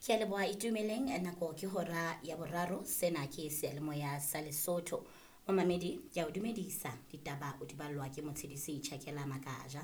Ke a leboha Itumeleng, nako ke hora ya boraro. Sena ke seyalemoya sa Lesotho. Momamedi, ke a o dumedisa. Ditaba o di ballwa ke Motshedisi Tjhakela Makaja.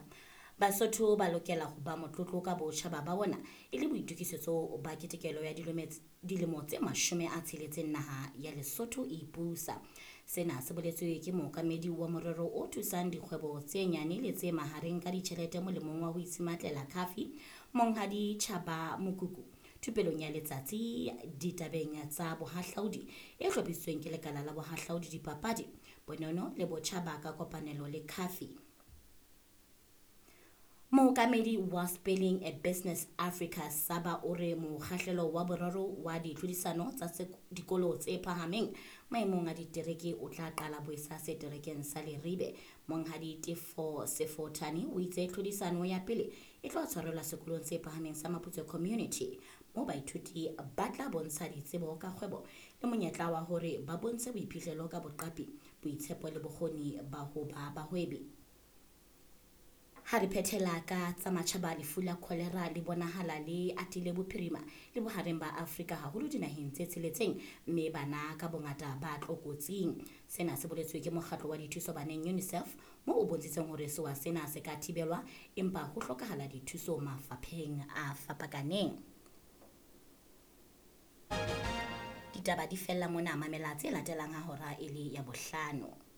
Basotho ba lokela ho ba motlotlo ka botjhaba ba bona e le boitokisetso ba ketekelo ya dilemo tse 60 naha ya Lesotho e ipusa. Sena se boletswe ke mookamedi wa morero o thusang dikgwebo tse nyane le tse mahareng ka ditjhelete molemong wa ho itshimatlela Khafi, Monghadi Chaba Mokuku, thupelong ya letsatsi ditabeng tsa bohahlaudi e hlophisitsweng ke lekala la bohahlaudi, dipapadi, bonono le botjhaba ka kopanelo le Khafi. Mookamedi wa Spelling a Business Africa Saba o re mokgahlelo wa boraro wa ditlhodisano tsa dikolo tse phahameng maemong a ditereke o tla qala boesa seterekeng sa Leribe. Monghadi Tefo Sefothane o itse tlhodisano ya pele e tlo tshwarelwa sekolong se phahameng sa Maputswe Community, moo baithuti ba tla bontsha ditsebo ka kgwebo le monyetla wa hore ba bontshe boiphihlelo ka boqapi, boitshepo le bokgoni ba ho ba bahwebi. Ha re phethela ka tsa matjhaba, lefu la kholera le bonahala le atile bophirima le bohareng ba Afrika, haholo dinaheng tse tsheletseng, mme bana ka bongata ba tlokotsing. Sena se boletswe ke mokgatlo wa dithuso baneng UNICEF, moo o bontshitseng hore sewa sena se ka thibelwa, empa ho hlokahala dithuso mafapheng a fapakaneng. Ditaba di fella mona. Mamela tse latelang ha hora e le ya bohlano.